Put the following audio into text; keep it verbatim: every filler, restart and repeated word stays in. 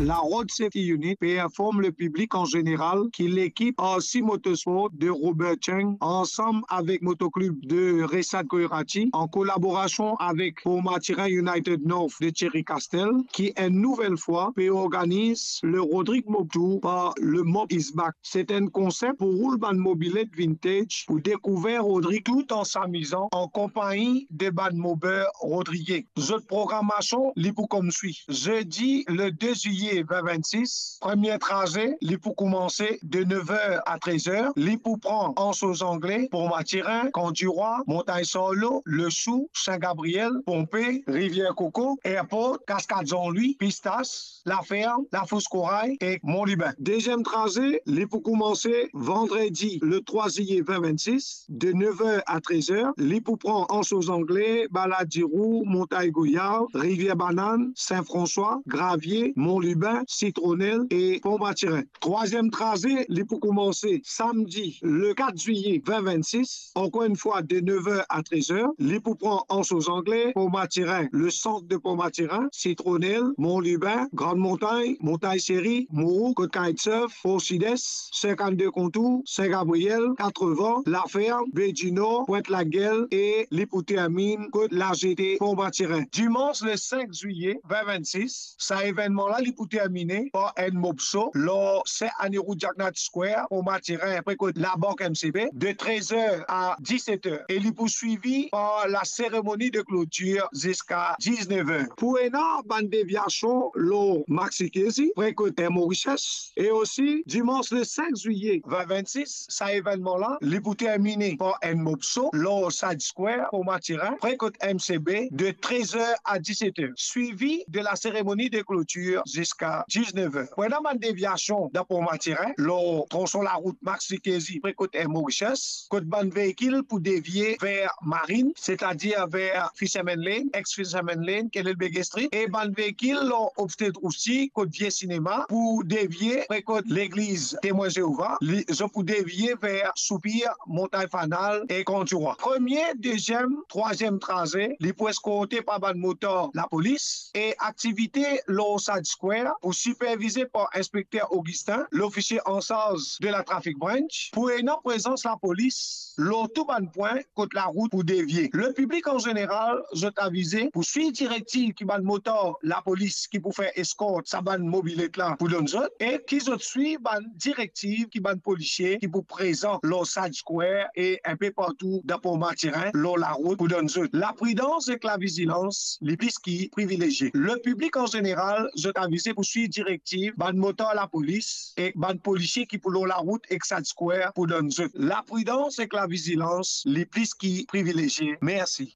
La Road Safety Unit pe inform lepiblik an zeneral ki lekip R C Motorsport de Robert Cheng, ansam avek Motoklib de Resat Koirati, an kolaborasion avek Port Mathurin United North de Thierry Castel, ki enn nouvel fwa pe organiz le Rodrig Mob Tour par le Mob Is Back. Se enn konsep pou roul bann mobilet vintage, pou dekouver Rodrig tout an samizan an konpagni de bann mober rodrigien. Zot programasion, li pou koumsi. Zedi, le de zilye vin vennsis, premie traze, li pou koumanse de nev er a trez er. Li pou pran Anse aux Anglais, Port Mathurin, Camp du Roi, Montagne Sarlot, Le Sou, Saint Gabriel, Pompée, Rivière Coco, Airport, Cascade Jean-Louis, Pistache, La Ferme, Lafosse Corail ek Mont Lubin. Deziem traze, li pou koumanse vandredi, le trwa zilye vin vennsis, de nev er a trez er. Li pou pran Anse aux Anglais, Balade du Roux, Montagne Goyave, Rivière Banane, Saint-François, Gravier, Mont Lubin, Citronnelle e Port Mathurin. Trwaziem traze, li pou koumanse samdi, le kat zilye vin vennsis, ankor enn fwa de nev er a trez er. Li pou pran Anse aux Anglais, Port Mathurin, le sant de Port Mathurin, Citronnelle, Mont Lubin, Grande Montagne, Montagne Série, Mouroux, kot kitesurf, Port Sud-Est, sinkannde Contour, Saint Gabriel, Quatre Vents, La Ferme, Baie du Nord, Pointe Laguel e li pou termine kot La Jetée, Port Mathurin. Dimans le sink zilye vin vennsis, sa evennman la li pou termine par enn mob show lor Saint Annie Road, Jacknat Square, Port Mathurin, pre kot Labank M C B, de trez er a diset er, e li pou swivi par la seremoni de klotir ziska diz-nev er. Pou ena bann devyasion lor Maxi Kezi, pre kot Air Mauritius, e osi dimans le sink zilye vin vennsis, sa evennman la li pou termine par enn mob show lor Side Square, Port Mathurin, pre kot M C B, de trez er a diset er, swivi de la seremoni de klotir ziska diz-nev er. Pou ena bann devyasion dan Port Mathurin, lor tronson larout Maxi Kezi, pre kot Air Mauritius, kot bann veikil pou devie ver Marine, setadir ver Fisherman Lane, ex Fisherman Lane, Kellel Begue Street, e bann veikil lor Upstate osi, kot Vie Sinema, pou devie pre kot legliz Temwin Zeova, li, zot pou devie ver Soupir, Montagne Fanal e Camp du Roi. Premie, deziem, trwaziem traze, li pou eskorte par bann motar lapolis, e aktivite lor Side Square pou sipervize par Inspekter Augustin, lofisie ansarz de la Traffic Branch, pou ena prezans lapolis lor tou bann pwin kot larout pou devie. Lepiblik an zeneral, zot avize pou swiv direktiv ki bann motar lapolis ki pou fer eskort sa bann mobilet la pou donn zot, e ki zot swiv bann direktiv ki bann polisie ki pou prezan lor Side Square e inpe partou dan Port Mathurin lor larout pou donn zot. Lapridans ek lavizilans, li plis ki privilezie. Lepiblik an zeneral, zot avize pou swiv direktiv bann motar lapolis ek bann polisie ki pou lor larout ek Side Square pou donn zot. Lapridans ek lavizilans, li plis ki privilezie. Mersi.